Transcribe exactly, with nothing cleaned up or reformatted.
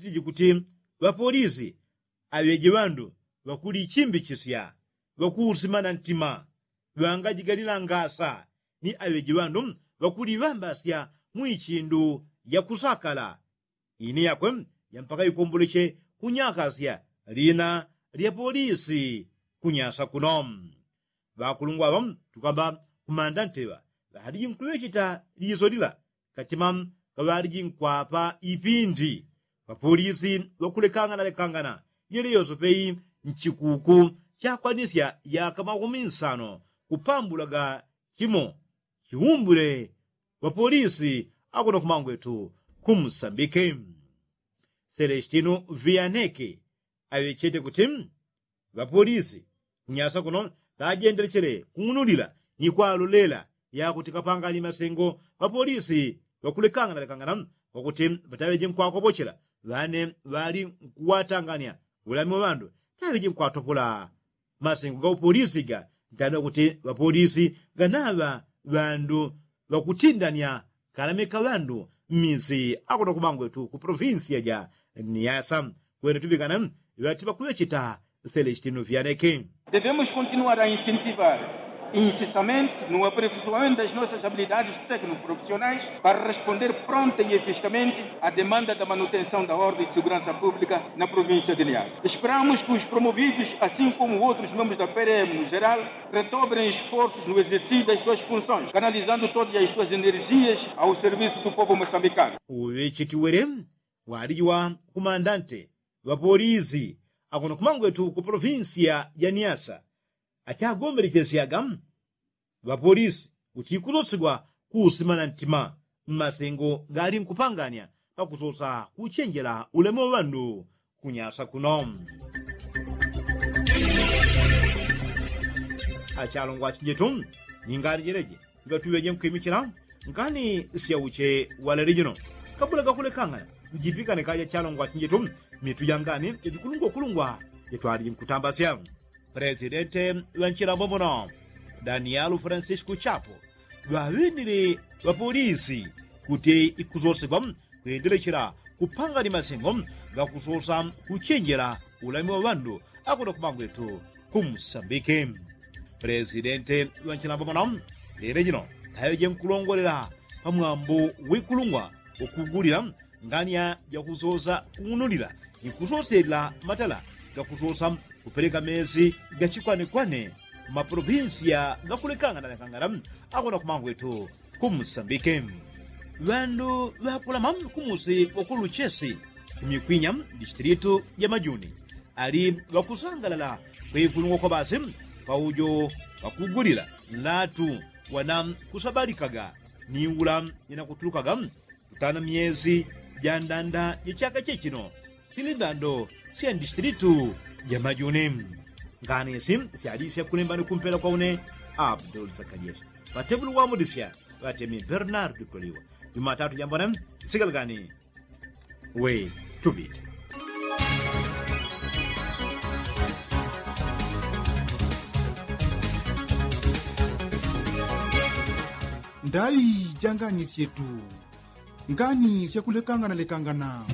Ŵakuti ŵapolisi aŵeje ŵandu ŵakulichimbichisya ŵakuusimana ntima ŵangajigalila ngasa ni aŵeje ŵandu ŵakuliŵambasya mwi chindu yakusakala. Ini yakwe yampaka ikomboleche kunyakasya lina lya polisi kunyasa kuno. Ŵakulungwa ŵa tukamba kumanda nteŵa ŵaliji nkuŵecheta liso lila katima kaŵaliji nkwapa ipindi ŵapolisi ŵakulekangana lekangana yele yose pei nchikuku chakwanisya yaka makumi nsano kupambulaga chimo chiumbule ŵapolisi akuno kumangwetu kumsambike. Selestino vianeke aŵechete kuti ŵapolisi kunyasa kuno ŵajendelechele kung'unulila ni kwalolela yakuti kapangani masengo ŵapolisi ŵakulekangana lekangana kwakuti ŵataŵeje nkwakopochela ŵane ŵali nkuwatangania ŵulami wa ŵandu taŵeje nkwatopola masengo ga upolisi ga ntanda kuti ŵapolisi ganaŵa ŵandu ŵakutindania kalamika ŵandu mmisi akuno kumangwetu ku provinsia ja niasa. Kwene tupikana ŵati ŵakuŵecheta selestino vianeke. Devemos continuar a incentivar incessamento no aperfeiçoamento das nossas habilidades tecnoprofissionais para responder pronta e eficazmente à demanda da manutenção da ordem de segurança pública na província de niasa. Esperamos que os promovidos, assim como outros membros da prm no geral, redobrem esforços no exercício das suas funções, canalizando todas as suas energias ao serviço do povo moçambicano. Uŵechetiwele waliji wa kumandante ŵapolisi akuno kumangwetu ku provinsia ya niasa achagombelechesyaga ŵapolisi kuti ikusosigwa kuusimana ntima mmasengo gali nkupangania pakusosa kuchenjela ulemu wa ŵandu kunyasa kuno. Achalongwa achinjetu ni ngani jeleje iŵatuŵeje nkwimichila ngani syauche walele jino kabula gakulekangana njipikane kaja achalongwa achinjetu mitu ja ngani jajikulungwa kulungwa jatwaliji nkutambasya. Presidente ŵa nchilambo muno danielu francisco chapo ŵaŵinile ŵapolisi kuti ikusosigwa kwendelechela kupangani masengo gakusosa kuchenjela ulami wa ŵandu akuno kumangwetu kumsambike. Presidente ŵa nchilambo muno lele jino aŵeje nkulongolela pamwambo wikulungwa ukugulila ngania jakusosa kung'unulila ni kusoselela matala gakusosa kupeleka mesi gachikwanekwane mmaprovinsia gakulekangana lekangana akona kumangwetu kumusambike. Ŵandu ŵakulama kumusi wakuluchesi kumikwinya distilitu ja majuni ali ŵakusangalala kwekulungwa kwa basi paujo ŵakugulila nlatu wana kusabalikaga ni ula inakutulukaga kutana myezi ja ndanda ja chaka chechino sili ndando sya ndistilitu ja majuni. Ngani isi syali syakulembani kumpela kwa une abdul sakajeshi ŵatebulu wamudisya ŵatemi bernard koliwa jumatatu jambona sikalagani we tupite. Ndaŵi ja ngani syetu ngani syakulekangana lekangana.